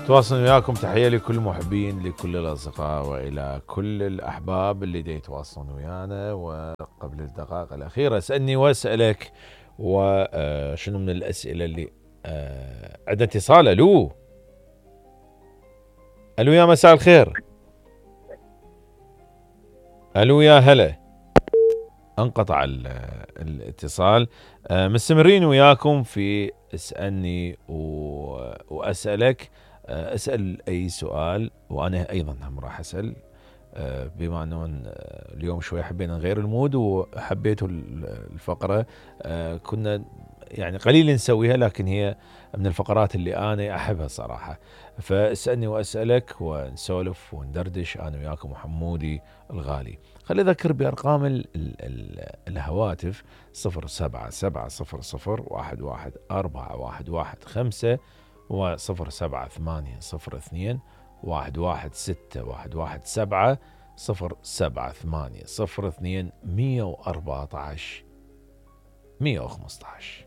تواصل وياكم. تحية لكل المحبين، لكل الأصدقاء وإلى كل الأحباب اللي دا يتواصلون ويانا. وقبل الدقائق الأخيرة اسألني واسألك، وشنو من الأسئلة اللي عندنا اتصال. ألو يا مساء الخير. ألو يا هلا. انقطع الاتصال. مستمرين وياكم في اسألني وأسألك. اسأل أي سؤال وأنا أيضا هم راح أسأل، بما أنه اليوم شوي حبينا نغير المود وحبيتوا الفقرة. كنا يعني قليل نسويها، لكن هي من الفقرات اللي أنا أحبها صراحة. فاسألني وأسألك ونسولف وندردش أنا وياكم وحمودي الغالي. خلي أذكر بأرقام الهواتف 0770011415 و07802116 07802117115.